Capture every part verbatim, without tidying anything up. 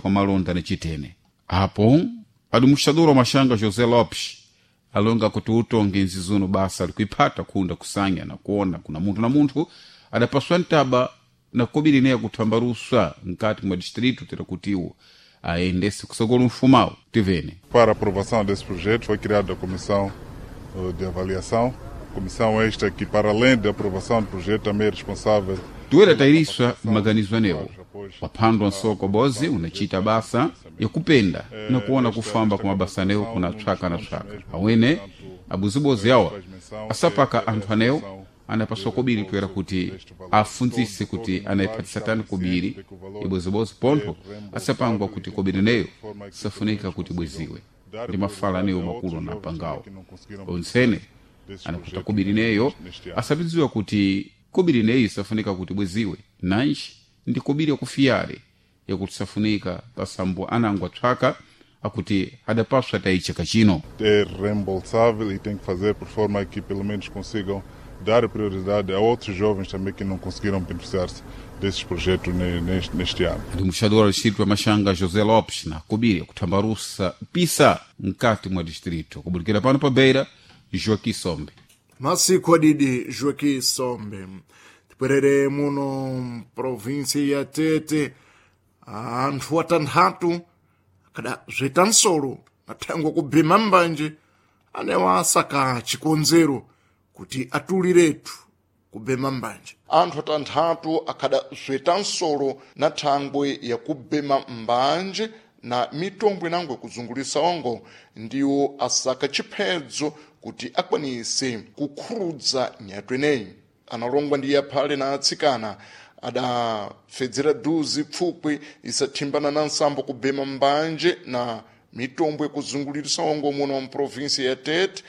Kwa malonda ni chitene apo administrador wa Machanga José Lopes alonga kuti utongi nzizuno basa alikuiphata kunda kusanya na kuona kuna munthu na munthu adapaswa ntaba na kobiri naye kuthambarusa nkati mwa distrito tera kutiwo aendese kusogolo mfumawo tivene. Para a aprovação desse projeto foi criada a comissão eh, de avaliação, comissão esta que, para além da aprovação do projeto, também é responsável Tuwera tayiriswa maganizo anewo waphandwa nsoko bozi unachita basa yakupenda na kuona kufamba kwa mabasa anewo kuna tswaka na tswaka awene abuzibozi awa asapaka anthu anewo anapaswa kobiri toera kuti afundzise kuti anayiphatisa tani kobiri ibozibozi pontho asapangwa kuti kobiri neyo safunika kuti bweziwe ndi mafala anewo makulu anapangawo ontsene anakuta kobiri neyo asapidziwa kuti kobiri neyi safunika kuti bweziwe nanji ndi kobiri yakufiyale yakuti safunika pasambo anango atswaka akuti adapaswa tayichaka chino. É reembolsável e tem que fazer por forma que pelo menos consigam dar prioridade a outros jovens também que não conseguiram beneficiar-se desses projetos ne- neste, neste ano. Administrador wa distrito wa Machanga José Lopes na kobiri yakuthambarusa pisa mkati mwa distrito kubulikira pano pa Beira, Joaquim Sombe. Masiku adidi Joaquim Sombe. Tipwerere muno provinsi ya Tete anthu atanthatu akada zweta nsolo athangwa kubhema mbanje anewa asaka chikonzero kuti atuliretu kubhema mbanje. Anthu atanthatu akhada zweta nsolo na thangwe yakubhema mbanje na mitombo inango yakuzungulisa ongo ndiwo asaka chiphedzo kuti akwanise kukhurudza nyatwa ineyi. Analongwa ndi aphale na atsikana adafedzera duzi pfupwi isathimbana na nsambo kubhema mbanje na mitombo yakuzungulirisa ongo muno mprovinsi ya Tete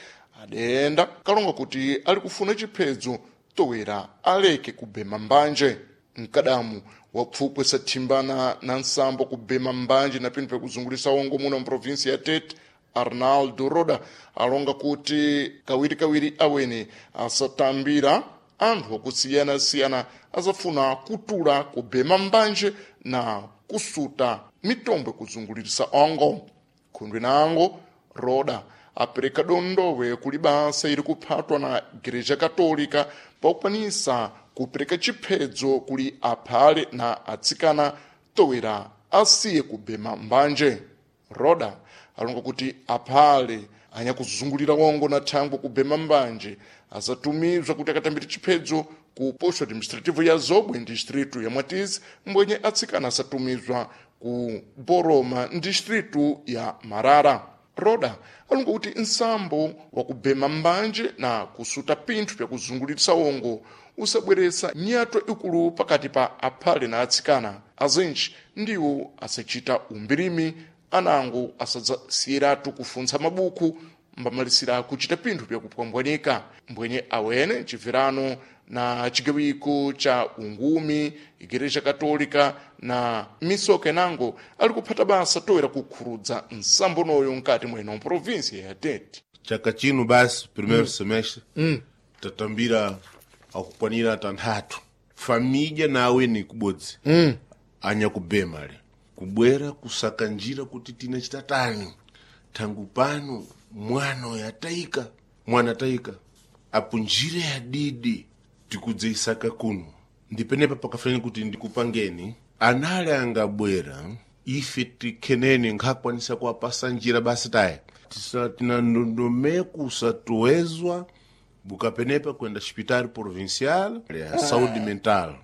adayenda kalonga kuti ali kufuna chiphedzo towera aleke kubhema mbanje. Mkadamu wa pfupwi sathimbana na nsambo kubhema mbanje na pinthu pyakuzungulisa ongo muno mprovinsi ya Tete, Arnaldo Roda, alonga kuti kawirikawiri awene asatambira anthu akusiyana-siyana azafuna kutula kubhema mbanje na kusuta mitombo yakuzungulirisa ongo. Khundwe nango Roda apereka dondowe kuli basa iri kuphatwa na Igreja Katolika pakukwanisa kupereka chiphedzo kuli aphale na atsikana towera asiye kubhema mbanje. Roda alonga kuti aphale anyakuzungulira wongo na thangwe kubhema mbanje asatumizwa kuti akatambire chiphedzo ku posto administrativo ya Zobwe distrito ya Mwatizi, mbwenye atsikana asatumizwa ku Boroma distrito ya Marara. Roda alonga kuti nsambo wa kubhema mbanje na kusuta pinthu pyakuzungulirisa wongo usabweresa nyatwa ikulu pakati pa aphale na atsikana azinji ndiwo asachita umbirimi anango asadzasiyiratu kufuntsa mabuku mbamalisira kuchita pinthu pyakupwambwanika mbwenye awene chibverano na chigawiko cha ungumi Igreja Katolika na misoka inango ali kuphata basa toera kukhurudza nsambo noyo nkati mweno provinsi ya Tete. Chaka chino basi primeiro semestre tatambira akukwanira tanthatu família nawe ni kubodzi mm. Anyakubema le kubwera kusaka njira kuti tina chitatani thangu pano mwana uyu atayika mwana atayika apo njira ya didi tikudzeisaka kuno ndipenepa pakafanira kuti ndikupangeni anali angabwera ife tikheneni nkhakwanisa kuwapasa njira basi taye tisa tina ndondomeko usatowezwa bukapenepa kwenda hospital provincial ya saúde mental.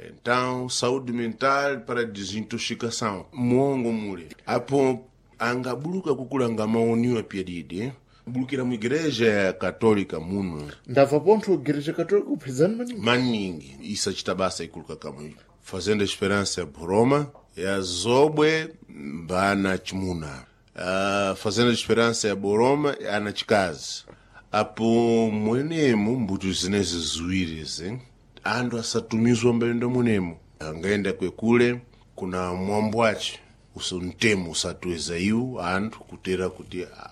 Então saúde mental para desintoxicação muongo mule apo angabuluka kukulanga maoniwa pyadidi bulukira mu igreja ya Católica muno. Ndabva pontho Igreja Katolika kuphizani maningi. Maningi isachita basa ikuluka kamwe Fazenda Esperança ya Boroma ya Zobwe mbana chimuna uh, Fazenda Esperança ya Boroma ana chikazi apo mwenemu mbuto zinezi ziwiri zi anthu asatumizwa mbayendo munemu angaenda kwekule kuna mwambo wace uso mtemo usatuweza iwo anthu kutera kuti ah,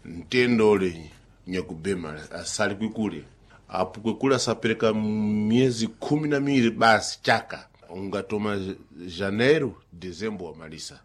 mtendo ule nyakubema asali kwikule apo kwekule asapereka miyezi khumi na miwiri basi chaka ungatoma janeiro dezembro wamalisa.